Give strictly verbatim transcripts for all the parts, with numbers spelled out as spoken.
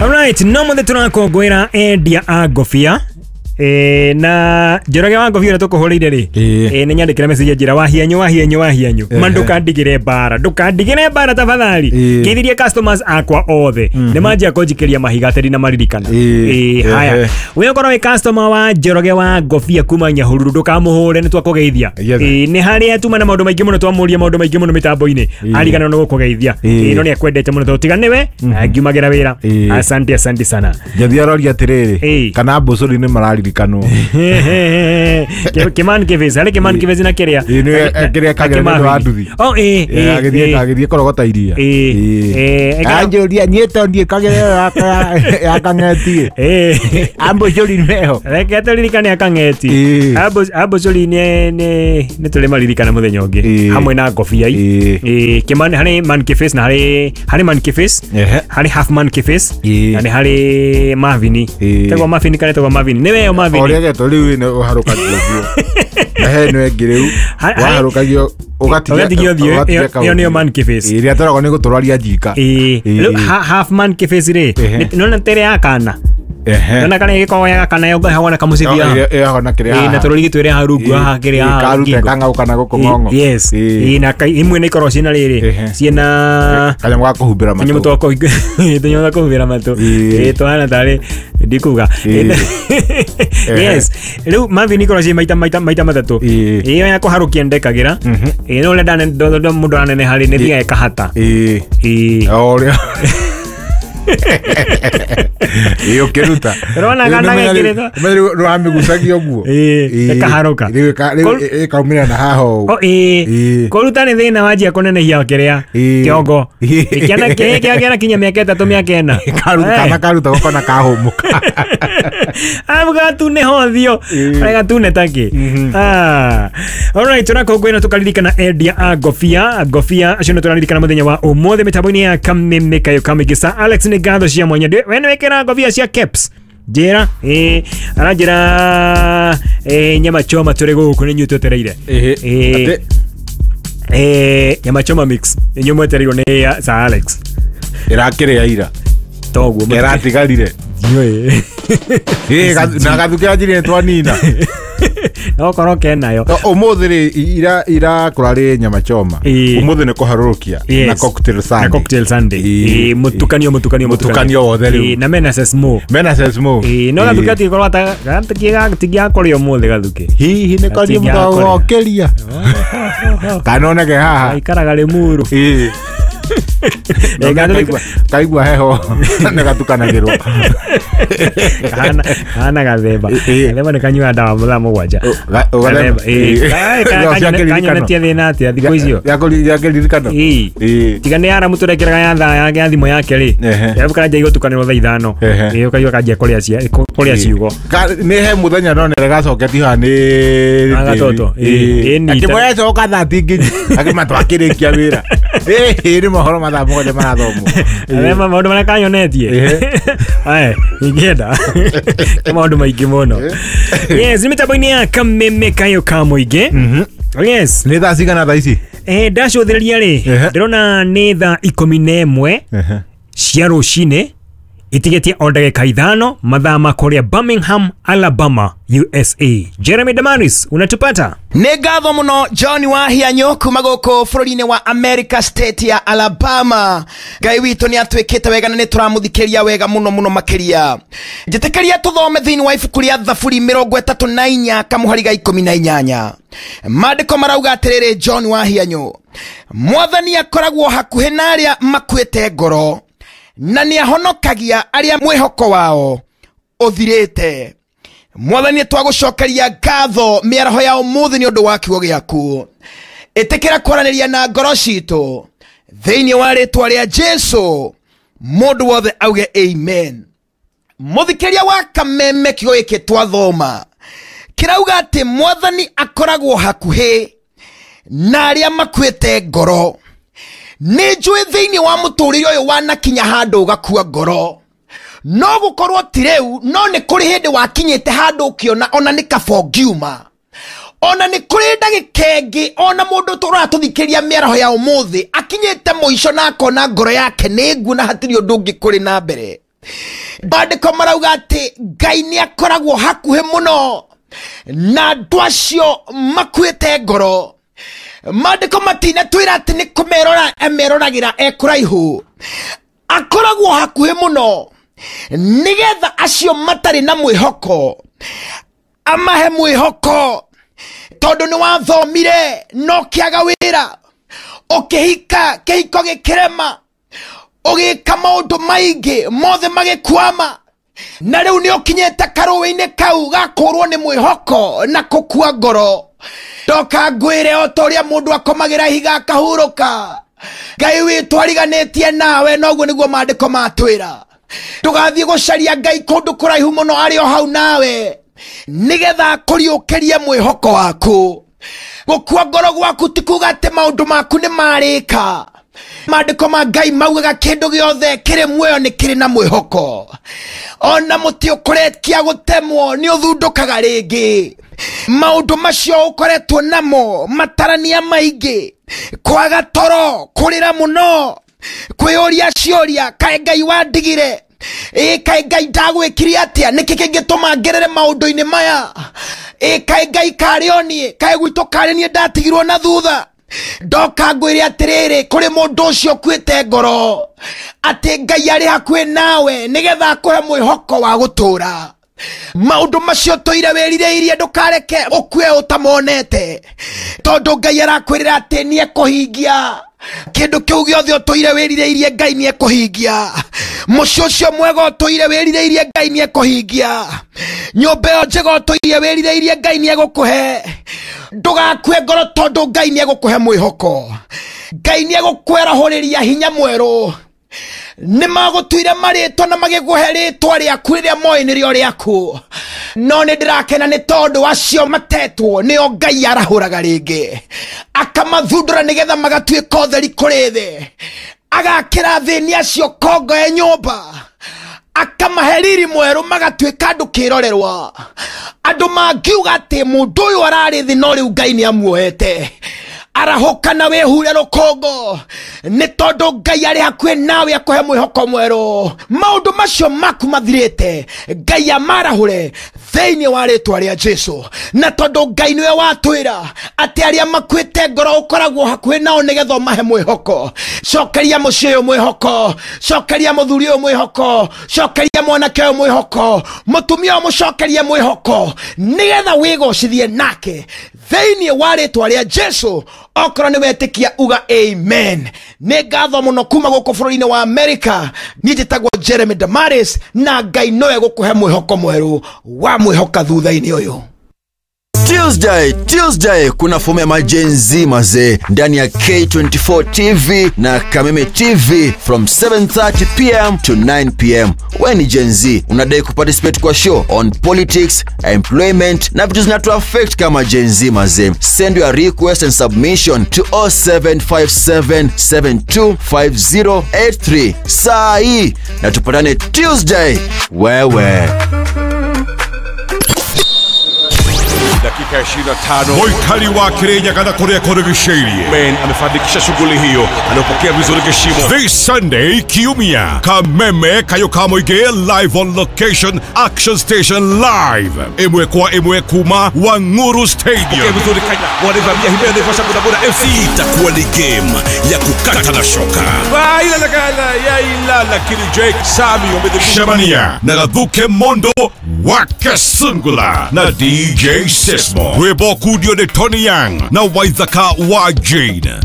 Alright, no mothe turakongwira endia a ngobia. Eh, na Njoroge wa ngobia ũrĩa tũkũhũrĩire rĩ, eh, nĩ nyandĩkĩra message njĩra wahianyu wahianyu wahianyu ma ndũkandigĩre mbara ndũkandigĩre mbara tafadhali ngeithirie customers akwa othe nĩ manjia kũnjikĩria mahiga atĩ ndina maririkana. Eh, haya we ũkorwo wĩ customer wa Njoroge wa ngobia kuma Nyahururu ndũkamũhũre nĩ twakũgeithia. Eh, nĩ harĩa tuma na maũndũ maingĩ mũno twamũria maũndũ maingĩ mũno mĩtambo-inĩ ariganĩrwo nĩ gũkũgeithia. Eh, no nĩ akwendete mũno tondũ tiga nĩwe ngiumagĩra wĩra. Asante asante sana. Njathi aroria atĩrĩrĩ kana mbũcũri nĩ mararirikanwo. Kiman Kivezi ale Kiman Kivezi na kiria kiria kagera nĩ wa nduthi. Oh eh eh agithie agithie korogota iria eh eh anjũria niĩ to ndiĩ kagera ya kang'eti eh ambũcũri meho reke tũririkane akang'eti ambũcũri nĩ nĩ nĩ tũrĩ maririkana mũthenya ũngĩ hamwe na ngobia eh Kiman harĩ Man Kivezi na harĩ harĩ Man Kivezi harĩ Half Man Kivezi na nĩ harĩ Mavini tegwa Mavini kana tegwa Mavini nĩ weyo Mavini oria geto riu ni uharukagio ũthiũ na he no ĩngĩ rĩu waharukagio ũgatigio ũthiũ ĩyo nĩyo Man Kivezi ĩrĩa tũragwo nĩ gũtũrwaria njika. Rĩu Half Man Kivezi rĩ nona tere ya kana nona kana ĩgĩkoragwo ya kana yohagwo na kamũcibi haha na kĩrĩa na tũrũrigi twĩrĩ haha rungu haha kĩrĩa haha karute kang'au kana gũkũ ng'ong'o. Yes na imwe nĩ ikoragwo ciĩna rĩrĩ ciĩna kanyamũ ga kũhumbĩra matũ tũnyamũ twa kũhumbĩra matũ tũhana tarĩ ndikuga. Yes rĩu Mavini ikoragwo ciĩ maita maita maita matatũ. Ĩyo ya kũharũkia ndekagĩra no ũrĩa mũndũ araneneha rĩ nĩ thiaga ĩkahata. O ũrĩa iyo keruta rona kana gekirito rĩu wamĩgucagia ũguo ĩkaharũka rĩu ĩkaumĩra na haha ũũ. Kũruta nĩ thĩna wanjia kũnenehia kĩrĩa kĩongo kĩana kĩana kinya mĩaka ĩtatũ mĩaka ĩna kana karuta gũkona kahũmũka abu gatune hothio arĩa gatune takĩ. Alright, tũrakũngũĩra tũkaririkana endia a ngobia ngobia acio nĩ tũraririkana mũthenya wa ũmũthĩ mĩtambo-inĩ ya Kameme Kayo Kamĩgĩca. Alex nĩ ngatho cia mwanya we nĩ wĩkĩra ngobia cia caps njĩra eh aranjĩra eh nyama choma tũrĩ gũkũ nĩ inyuĩ twetereire eh eh nyama choma mix inyuĩ mwetereirwo nĩ Sir Alex ĩrakĩrĩa ira toguo ĩratigarire ndiũĩ eh na gathuke anjire twanina no korwo kenayo ũmũthĩ rĩ ira irakũra rĩ nyama choma ũmũthĩ nĩ kũharũrũkia na cocktail Sunday na cocktail Sunday eh mũtukanio mũtukanio mũtukanio wothe rĩu na mena sesmo mena sesmo eh no gathuke atikorwo ata gatigiakoria ũmũthĩ gathuke hihi nĩ koria mũgokĩria kana oneke haha aikaraga Limuru eh kaigua heho nĩ gatukanagĩrwo kana kana gathemba gathemba nĩ kanyua ndawa mathaa mũgwanja kanyonetie thĩna atĩa thikũ icio gĩa kĩririkano tiga nĩ aramu tũrekĩraga ya thaa yake ya thimũ yake rĩ arabu kanjia gũtukanĩrwo thaa ithano ũkaigua kanjia kũrĩa ciugo nĩ he mũthenya nonere gacoketie haha nĩ gatoto akĩmoya coka thaa tinginyi akĩma twakĩrĩkia wĩra nĩ mohoro mathaa mũgwanja marathomwo Arema maũndũ marĩa kanyonetie ae ingĩenda nĩ maũndũ maingĩ mũno. Yes, nĩ mĩtambo-inĩ ya Kameme Kayo ka Mũingĩ. Yes, nĩ thaa cigana thaa ici eh ndacũthĩrĩria rĩ ndĩrona nĩ thaa ikũmi na ĩmwe cia rũcinĩ itigetie o ndagĩka ithano mathaa ma kũrĩa Birmingham, Alabama, U S A. Jeremy Damaris, unatupata? Nĩ ngatho mũno John Wahianyo kuma gũkũ bũrũri-inĩ wa America state ya Alabama. Ngai witũ nĩ atwĩkĩte wega na nĩ tũramũthikĩria wega mũno mũno makĩria. Njĩtĩkĩria tũthome thĩinĩ wa ibuku rĩa Thaburi mĩrongo ĩtatũ na inya kamũhari ga ikũmi na inyanya. Maandĩko marauga atĩrĩrĩ John Wahianyo, Mwathani akoragwo hakuhĩ na arĩa makuĩte ngoro na nĩ ahonokagia arĩa mwĩhoko wao ũthirĩte. Mwathani twagũcokeria ngatho mĩaraho ya ũmũthĩ nĩ ũndũ wa kiugo gĩaku. Ĩtĩkĩra kwaranĩria na ngoro citũ thĩinĩ wa rĩtwa rĩa Jesu. Mũndũ wothe auge amen. Mũthikĩria wa Kameme kiugo gĩkĩ twathoma kĩrauga atĩ Mwathani akoragwo hakuhĩ na arĩa makuĩte ngoro. Nĩ njũĩ thĩinĩ wa mũtũrĩre ũyũ wanakinya handũ ũgakua ngoro. No gũkorwo ti rĩu, no nĩ kũrĩ hĩndĩ wakinyĩte handũ ũkĩona ona nĩ kaba ũngiuma. Ona nĩ kũrĩ ndagĩka ĩngĩ ona mũndũ tũratũthikĩria mĩaraho ya ũmũthĩ akinyĩte mũico na akona ngoro yake nĩ nguo na hatirĩ ũndũ ũngĩ kũrĩ na mbere. Maandĩko marauga atĩ Ngai nĩ akoragwo hakuhĩ mũno na andũ acio makuĩte ngoro. Maandĩko matinatwĩra atĩ nĩ kũmerora emeroragĩra e kũraihu, akoragwo hakuhĩ mũno nĩgetha acio matarĩ na mwĩhoko amahe mwĩhoko. Tondũ nĩ wathomire no kĩaga wĩra, ũkĩhika kĩhiko gĩkĩrema, ũgĩka maũndũ maingĩ mothe magĩkwama, na rĩu nĩ ũkinyĩte karũĩ-inĩ kau gakũrwo nĩ mwĩhoko na kũkua ngoro. Ndoka ngwĩre o ta ũrĩa mũndũ akomagĩra ihiga akahurũka, Ngai witũ ariganĩtie nawe, noguo nĩguo maandĩko matwĩra. Ndũgathiĩ gũcaria Ngai kũndũ kũraihu mũno, arĩ o hau nawe nĩgetha akũriũkĩrie mwĩhoko waku. Gũkua ngoro gwaku ti kuga atĩ maũndũ maku nĩ marĩka. Maandĩko ma Ngai maugaga kĩndũ gĩothe kĩrĩ muoyo nĩ kĩrĩ na mwĩhoko. Ona mũtĩ ũkorekia gũtemwo nĩ ũthundũkaga rĩngĩ. Maũndũ macio ũkoretwo namo matarania maingĩ, kwaga toro, kũrĩra mũno, kwĩyũria ciũria, kaĩ Ngai wandigire? Ĩ kaĩ Ngai ndagwĩkire atĩa? Nĩkĩ kĩngĩtũma ngerere maũndũ-inĩ maya? Ĩ kaĩ Ngai karĩ o niĩ? Kaĩ gwitũ karĩ niĩ ndatigirwo na thutha? Ndoka ngwĩre atĩrĩrĩ, kũrĩ mũndũ ũcio ũkuĩte ngoro atĩ Ngai arĩ hakuhĩ nawe nĩgetha akũhe mwĩhoko wa gũtũũra. Maũndũ macio tũire wĩrirĩirie ndũkareke ũkue ũtamonete, tondũ Ngai arakwĩrĩra atĩ nĩ ekũhingia kĩndũ kĩu gĩothe ũtũire wĩrirĩirie. Ngai nĩ ekũhingia mũciĩ ũcio mwega ũtũire wĩrirĩirie, Ngai nĩ ekũhingia nyũmba ĩyo njega ũtũire wĩrirĩirie, Ngai nĩ egũkũhe. Ndũgakue ngoro tondũ Ngai nĩ egũkũhe mwĩhoko. Ngai nĩ egũkwerahũrĩria hinya mwerũ. Nĩ magũtuire marĩtwa na magĩkũhe rĩtwa rĩaku rĩrĩa moĩ nĩrĩo rĩaku, no nĩ ndĩrakena nĩ tondũ acio matetwo nĩo Ngai arahũraga rĩngĩ, akamathundũra nĩgetha magatuĩka ũtheri kũrĩ thĩ, agakĩra thĩni acio kongo ya nyũmba, akamahe riri mwerũ magatuĩka andũ kĩrorerwa. Andũ mangiuga atĩ mũndũ ũyũ ararĩ thĩ no rĩu Ngai nĩ amuoete. Arahũka na wĩhure rũkũngũ nĩ tondũ Ngai arĩ hakuhĩ nawe akũhe mwĩhoko mwerũ. Maũndũ macio maku mathirĩte Ngai amarahũre thĩinĩ wa rĩtwa rĩa Jesu. Na tondũ Ngai nĩwe watwĩra atĩ arĩa makuĩte ngoro ũkoragwo hakuhĩ nao nĩgetha ũmahe mwĩhoko. Cokeria mũciĩ ũyũ mwĩhoko, cokeria mũthuri ũyũ mwĩhoko, cokeria mwanake ũyũ mwĩhoko, mũtumia ũyũ mũcokerie mwĩhoko nĩgetha wĩgocithie nake thĩinĩ wa rĩtwa rĩa Jesu. Okorwo nĩ wetĩkia uga amen. Nĩ ngatho mũno kuma gũkũ bũrũri-inĩ wa America. Niĩ njĩtagwo Jeremy Damaris, na Ngai nowe gũkũhe mwĩhoko mwerũ wa mwĩhoka thutha-inĩ ũyũ. Tuesday, Tuesday kuna fomu ya Gen Z mazee ndani ya K twenty-four T V na Kameme T V from seven thirty p m to nine p m. Wewe ni Gen Z, unadai kuparticipate kwa show on politics, employment na vitu zinatu affect kama Gen Z mazee. Send your request and submission to oh seven five seven seven two five zero eight three. Saa hii na tupatane Tuesday. Wewe dakika ishirini na tano. Mwikali wa Kirinyaga na Korea Korogishiri Men amefanikisha shughuli hiyo, anapokea vizuri kishimo. This Sunday Kiumia, Kameme Kayoka Moige live on location, Action Station live. Imwe kwa imwe kuma Wanguru Stadium. Pokea vizuri Kenya, wanavamia Jimenez kwa sababu boda F C. Itakuwa ni game ya kukata na shoka. Ila la gala ya ila lakini Jake Sami wamedhibiti. Shamania na Gathuke Mondo Wakasungula na D J Sismo. Webo Kudio de Tony Yang na Waithaka wa Jane.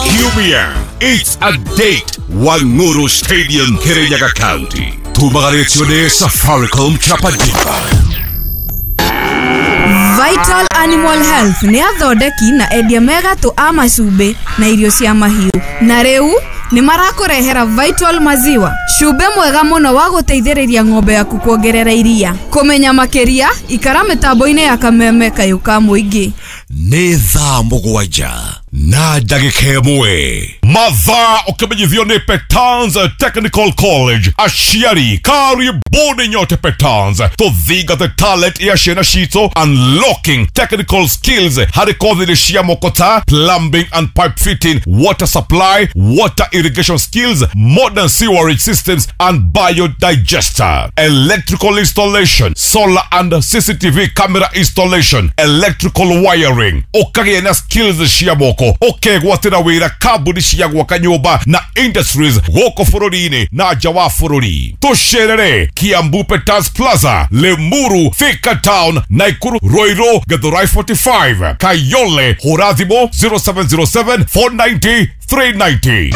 Kiumia, it's a date. Wanguru Stadium, Kirinyaga County. Tumagaretio de Safaricom Chapadipa. Vital Animal Health nĩ athondeki na endia mega tu a macumbĩ na irio cia mahiũ. Na rĩu nĩ marakũrehera Vital Maziwa, cumbĩ mwega mũno wa gũteithĩrĩria ng'ombe yaku kuongerera iria. Kũmenya makĩria, ikara mĩtambo-inĩ ya Kameme Kayũ ka Mũingĩ. Nĩ thaa mũgwanja na ndagĩka ĩmwe. Mathaa ũkĩmenyithio nĩ Petans Technical College. Aciari karibuni nyote Petans, tũthingate talent ya ciana citũ, unlocking technical skills harĩ kothi cia moko ta plumbing and pipe fitting, water supply, water irrigation skills, modern sewerage systems and biodigester, electrical installation, solar and C C T V camera installation, electrical wiring. Ũkagĩa na skills cia moko, ũkegwatĩra wĩra kambuni cia gwaka nyũmba na industries gũkũ bũrũri-inĩ na nja wa bũrũri. Tũcerere Kiambu Petans Plaza, Limuru, Thika Town, Nakuru, Ruiru, Githurai forty-five, Kayole. Hũra thimũ zero seven zero seven four ninety three ninety.